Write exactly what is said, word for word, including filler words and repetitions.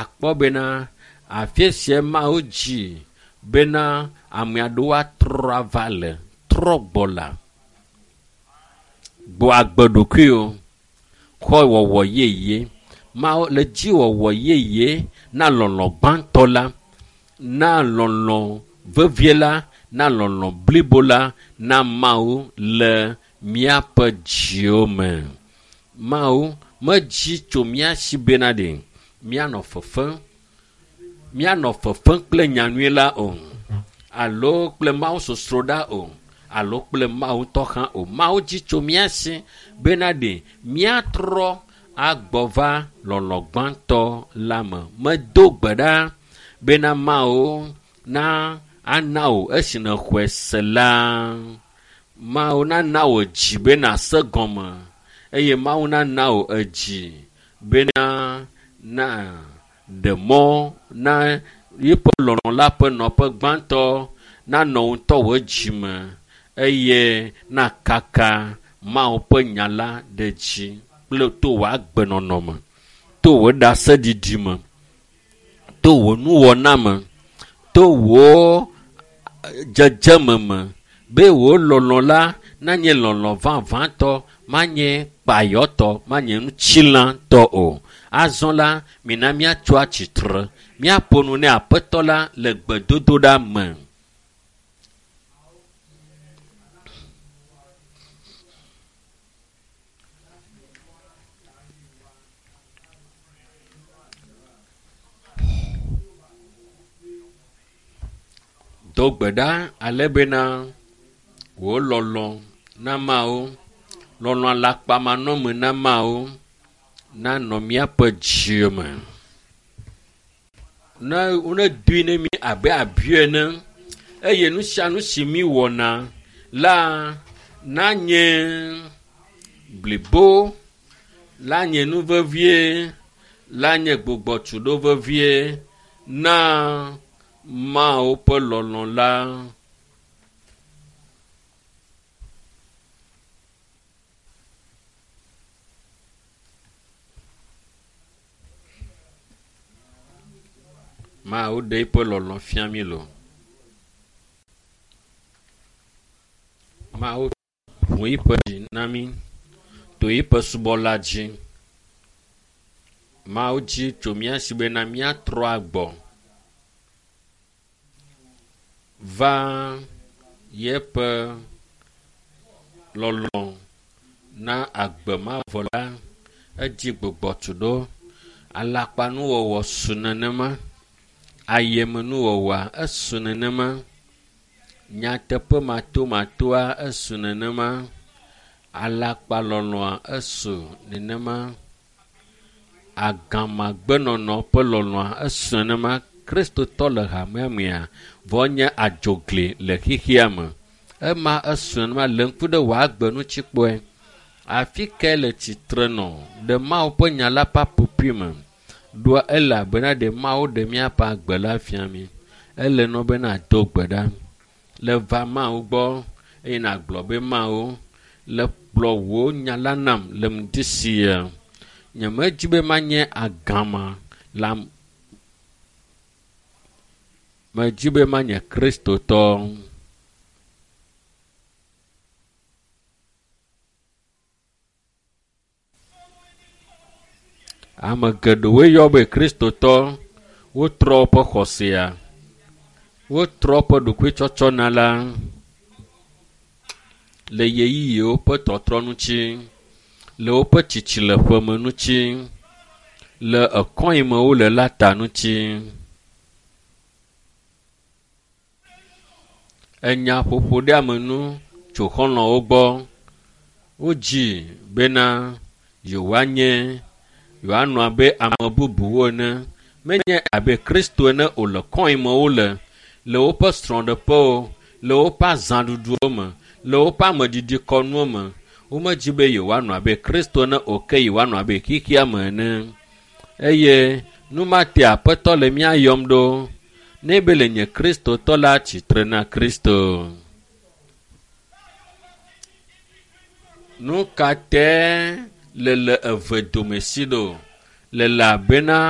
Akpɔ bena afi sia Mawu dzi bena ame aɖewo atrɔ ava le trɔ gbɔ la. Gbɔ agbe ɖokuiwo xɔ wɔwɔ yeye. Mawu le dzi wɔwɔ yeye na lɔlɔ gbãtɔ la, na lɔlɔ vevie la, na lɔlɔ blibo la na Mawu le míaƒe dziwo me. Mawu medzi tso mía si bena ɖe míanɔ fefem, míanɔ fefem kple nyanyui la o, alo kple Mawu sosroɖa o, alo kple Mawu ŋutɔ hã o. Mawu dzi tso mía si bena ɖe míatrɔ agbɔ va lɔlɔ gbãtɔ la me. Medo gbe ɖa bena Mawu na ana wò esi nèxɔe se la. Mawu nana wò dzi be nàse gɔme eye Mawu nana wò edzi bena na ɖe mɔ na yeƒe lɔlɔ la ƒe nɔƒe gbãtɔ nanɔ ŋutɔ wò dzime eye nakaka Mawu ƒe nya la ɖe dzi kple to wò agbenɔnɔ me, to wò ɖaseɖiɖi me, to wò nuwɔna me, to wò dzedzeme me be wò lɔlɔ la nanye lɔlɔ vavãtɔ, manye kpayɔtɔ, manye ŋutilãtɔ o. Azɔ la, mina míatso atsitre, míaƒo nu ne Aƒetɔ la le gbedodoɖa me. Do gbe ɖa ale bena wò lɔlɔ na Mawu, lɔlɔ alakpamanɔme na Mawu nanɔ míaƒe dzi me. Ne wonedoe ne mí abe abi ene eye nu sia nu si mí wɔna la nanye blibo, la nye nu vevie, la nye gbugbɔtuɖo vevie na Mawu ƒe lɔlɔ la. Mawu ɖe eƒe lɔlɔ fia mí lo. Mawu ʋu eƒe dzi na mí to eƒe subɔla dzi. Mawu dzi tso mía si bena míatrɔ agbɔ va yeƒe lɔlɔ na agbe mavɔ la. Edzi gbugbɔtuɖo, alakpanuwɔwɔ su nenema, ayemenuwɔwɔa esu nenema, nyateƒe matomatoa esu nenema, alakpalɔlɔa esu nenema, agamagbenɔnɔ ƒe lɔlɔa esu nenema. Kristotɔ le hamea mea vɔ nye adzogli le xexea me. Ema esu nenema le ŋku ɖe wò agbe ŋuti kpɔe. Afi kae le tsitre nɔ ɖe Mawu ƒe nya la ƒe aƒoƒui me? Ɖoa elabena ɖe Mawu ɖe míaƒe agbe la fia mí. Ele nɔ be nàdo gbe ɖa le va Mawu gbɔ eye nàgblɔ be Mawu le kplɔ wò nya la nam le ŋdi sia. Nyemedzi be manye agama la medzi be manye Kristotɔ. Ame geɖewoe yɔ be Kristotɔ, wotrɔ woƒe xɔsea, wotrɔ woƒe ɖokuitsɔtsɔna la le ɣeyiɣiwo ƒe tɔtrɔ ŋuti, le woƒe tsitsi le ƒeme ŋuti, le ekɔ yi me wole la ta ŋuti. Enya ƒoƒo ɖe ame nu tso xɔlɔ̃wo gbɔ. Wodzi bena yewoanye, yewoanɔ abe ame bubuwo ene. Menye abe Kristo ene o le kɔ yi me wole, le woƒe srɔ̃ɖeƒewo, le woƒe azãɖuɖuwo me, le woƒe ameɖiɖikɔnuwo me. Womedzi be yewoanɔ abe Kristo ene o ke yewoanɔ abe xexea me ene. Eye nu ma te Aƒetɔ le mía yɔm ɖo. Ne be le nye Kristotɔ la tsitre na Kristo. Nu ka te le le eve dome si ɖo? Le elabena